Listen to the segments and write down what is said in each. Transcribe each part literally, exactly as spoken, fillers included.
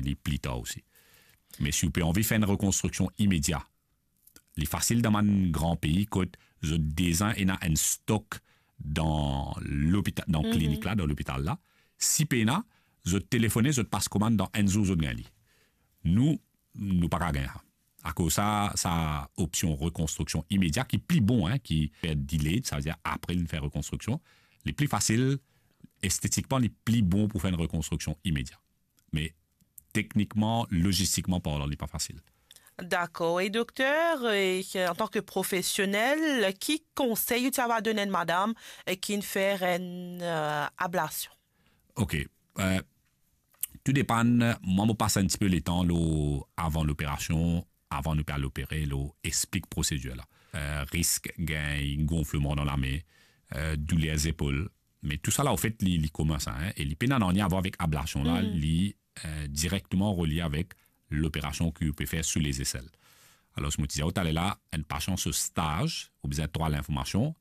li pli tar osi. Me si ou pe anvi fer enn rekonstriksion imedia, li fasil dan bann gran pei kot zot deza ena enn stok dan lopita-, dan klinik la, dan lopital la. Si pena, zot telefone, zot pas komann, dan enn zour zot gagn li. Nou, nou pa kav gagn sa. Akoz sa, sa opsion rekonstriksion imedia ki pli bon, hein, ki fer delayed, savedir apre li fer rekonstriksion, li pli fasil, estetikman, li pli bon pou fer enn rekonstriksion imedia. Me teknikman, lozistikman parlan, li pa fasil. Dakor. E dokter, e, antan ke profesionel, ki konsey ou ti ava donn enn madam, e, ki'nn fer enn, e, ablasion? Ok. E, tou depann, mwa mo pas enn tipe letan lor avan loperasion, avan nou pe al opere, lor explik prosedir la. E, risk gagn gonfleman dan lame, e, douler zepol, me tousala, anfet, li, li komin sa, hein, e li pena nanye a vwar avek ablasion la, li, e, direkteman relie avek loperasion ki ou pe fer sou lezesel. Alor, mo ti dir ou taler la, enn pasian so staz, ou bizin trwa linformasion,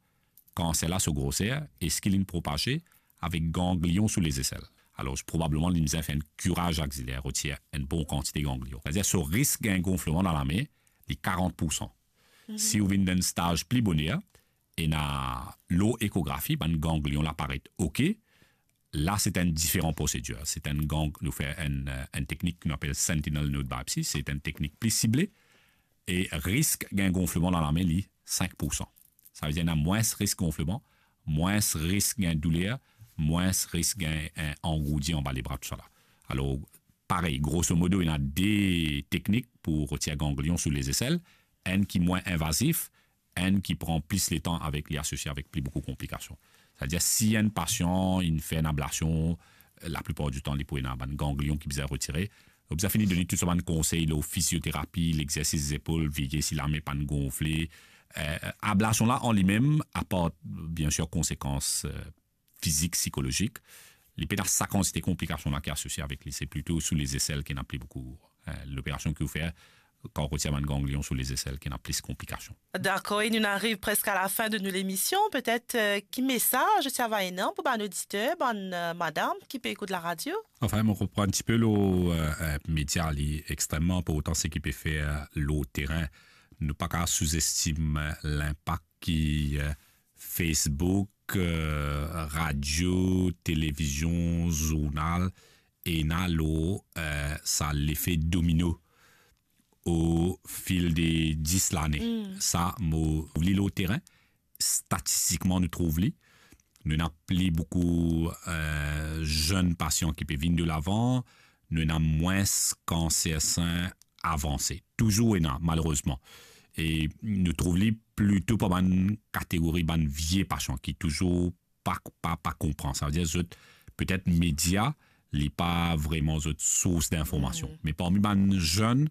kanser la so groser, eski li'nn propaze, avek ganglion sou lezesel. Alor, probableman, li bizin fer enn kiraz axilaire, retir enn bon kantite ganglion. Savedir, so risk gagn gonfleman dan lame, li karant poursan. Si ou vinn dan enn staz pli boner, ena lor ekografi, bann ganglion la paret ok, la, se enn diferan prosedir. Se enn gang-, nou fer enn, e, enn teknik ki nou apel sentinel node biopsy. Se enn teknik pli sible. E risk gagn gonfleman dan lame, li, sink poursan. Savedir, ena mwins risk gonfleman, mwins risk gagn douler, mwins risk gagn, e, angourdi anba lebra, tousala. Alor, parey, grosomodo, ena de teknik pou retir ganglion sou lezesel. Enn ki mwin invazif, enn ki pran plis letan avek, li asosie avek pli boukou konplikasion. Savedir, si enn pasian inn fer enn ablasion, laplipar ditan, li pou ena bann ganglion ki bizin retire. Ou bizin fini donn li tou sa bann konsey lor fizioterapi, lexersis zepol, veye si lame pa'nn gonfle. E, ablasion la, an limem, apar, biensir, konsekans, e, fizik, sikolozik, li pena sa kantite konplikasion la ki asosie avek li. Se plito sou lezesel ki ena pli boukou, e, loperasion ki ou fer, kan ou retir bann ganglion sou lezesel ki ena plis konplikasion. Dakor, e nou ariv preske a lafin de nou lemision. Petet, e, ki mesaz ou ti ava ena pou bann oditer, bann, e, madam ki pe ekout laradio? Anfin, mo konpran enn tipe lor, e, e, media, li extreman inportan seki pe fer lor terin. Nou pa kav souzestim, e, linpak ki, e, Facebook, e, radio, televizion, zournal, ena lor, e, sa lefe domino o fil de dis lane. Sa, mo trouv li lor terin, statistikman, nou trouv li. Nou ena pli boukou, e, zenn pasian ki pe vinn de lavan, nou ena mwins kanser sin avanse. Touzour ena, malerezman. E nou trouv li plito par bann kategori bann vie pasian ki touzour pa, pa, pa konpran. Savedir, zot, petet media, li pa vreman zot sours dinformasion. Me parmi bann zenn,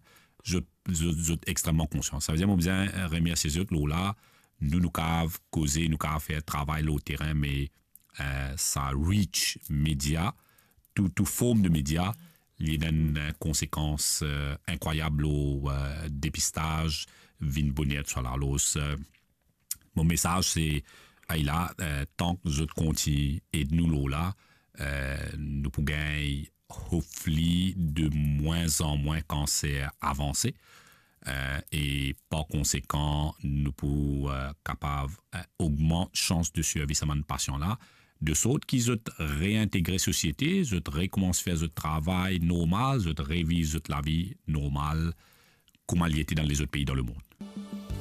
zot, zot, zot extreman konsian. Savedir, mo bizin remersie zot lor la, nou, nou kav koze, nou kav fer travay lor terin, me, e, sa reach media, tou, tou form de media, li ena enn, e, konsekans, e, inkrwayab lor, e, depistaz, vinn boner, tousala. Alor, e, mo mesaz se, ala, e, tan ki zot kontign ed nou lor la, e, nou pou gagn, hopefully, de mwin an mwin kanser avanse, e, e par konsekan, nou pou, e, kapav, e, ogmant sans de sirvi sa bann pasian la, de sort ki zot reintegre sosiete, zot rekoumans fer zot travay normal, zot reviv zot lavi normal, kouma li ete dan lezot pei dan lemond.